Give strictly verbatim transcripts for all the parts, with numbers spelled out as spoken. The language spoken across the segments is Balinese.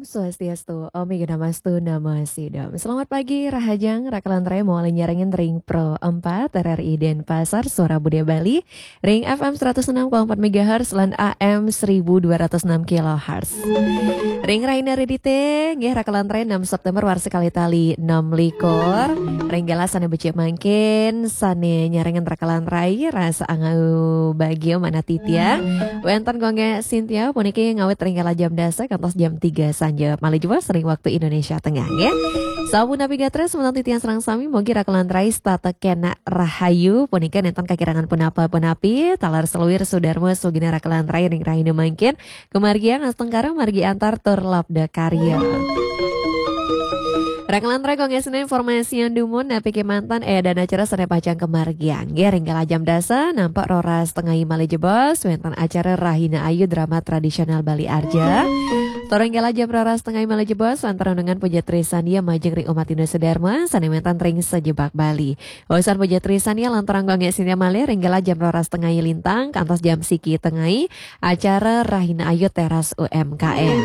Swastiastu, Om Awighnamastu Namo Sidham. Selamat pagi, Rahajeng, Rakalan Rai, mawali nyarengin ring Pro empat R R I Denpasar, Suara Budaya Bali, ring F M seratus enam koma empat megahertz lan A M seribu dua ratus enam kilohertz. Ring rahina Redite, nggih, Rakalan Rai, enam September warsa kalih tali enam likur. Ring galah sane becik mangkin, sane nyarengin Rakalan Rai, rasa angau bagia manah titiang. Wenten Gung Gek Sintia puniki ngawit ring galah jam dasa kantos jam tiga sanja malih jebos ring waktu Indonesia Tengah, nggih. Sapunapi gatra semeton titiang sareng sami, mugi Rakalan Rai setata kenak rahayu, punika nenten kakirangan punapa-punapi, taler seluir sudarma sugina Rakalan Rai ring rahina mangkin, kamargiang astungkara, margi antar tur labda karya. Rakalan Rai, Gung Gek Sintia, informasian dumun, napi kemanten, eh, dan acara sane pacang kamargiang. Nggih, ring galah jam dasa, nampak roras tengai malih jebos, wenten acara Rahina Ayu Drama Tradisional Bali Arja. Tur ring galah jam roras tengai malih jebos, wenten renungan puja trisandia majeng ring umat Hindu sedharma, sane wenten ring sajebag Bali. Wawasan puja trisandia lanturang Gung Gek Sintia malih ring galah jam roras tengai lintang, kantos jam siki tengai, acara Rahina Ayu Teras U M K M.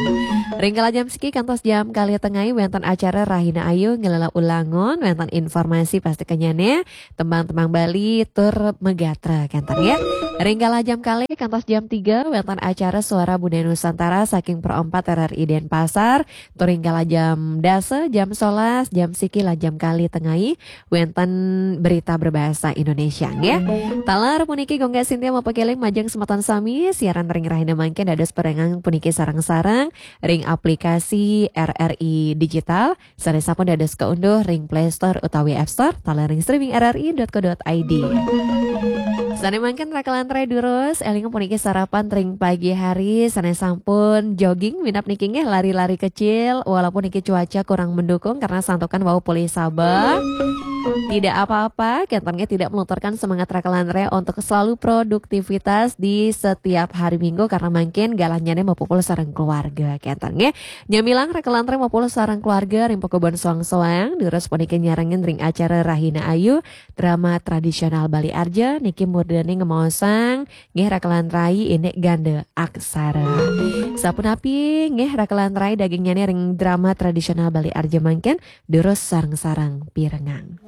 Ring galah jam siki kantos jam kalih tengai wenten acara Rahina Ayu ngelela ulangun, wenten informasi pasti kenyane, tembang-tembang Bali tur magatra kenten, nggih. Ring galah jam kalih kantos jam tiga wenten acara Suara Budaya Nusantara saking Pro empat R R I Denpasar, tur ring galah jam dasa, jam sebelas, jam siki lan jam kalih tengai wenten berita berbahasa Indonesia, nggih. Taler puniki Gung Gek Sintia mapakeling majeng semeton sami, siaran ring rahina mangkin dados perengang puniki sareng-sareng ring aplikasi R R I Digital, sane sampun dados kaunduh ring Play Store utawi App Store, taler ring streaming R R I dot co dot I D. Sane mangkin Rakalan Rai durus, eling puniki sarapan ring pagi hari, sane sampun jogging, minab niki nggih lari-lari kecil, walaupun niki cuaca kurang mendukung karena santukan wau polih sabeh. Tidak apa-apa, kenten nggih tidak melunturkan semangat Rakalan Rai untuk selalu produktivitas di setiap hari Minggu karena mangkin galahnyane mapupul sareng keluarga, kenten nggih. Nyamilang Rakalan Rai mapupul sareng keluarga ring pakubon soang-soang, durus puniki nyarengin ring acara Rahina Ayu, drama tradisional Bali Arja, niki murdaning ngemaosang, nggih, Rakalan Rai indik ganda aksara. Sapunapi, nggih, Rakalan Rai, dagingnyane ring drama tradisional Bali Arja mangkin, durus sareng-sareng pirengang.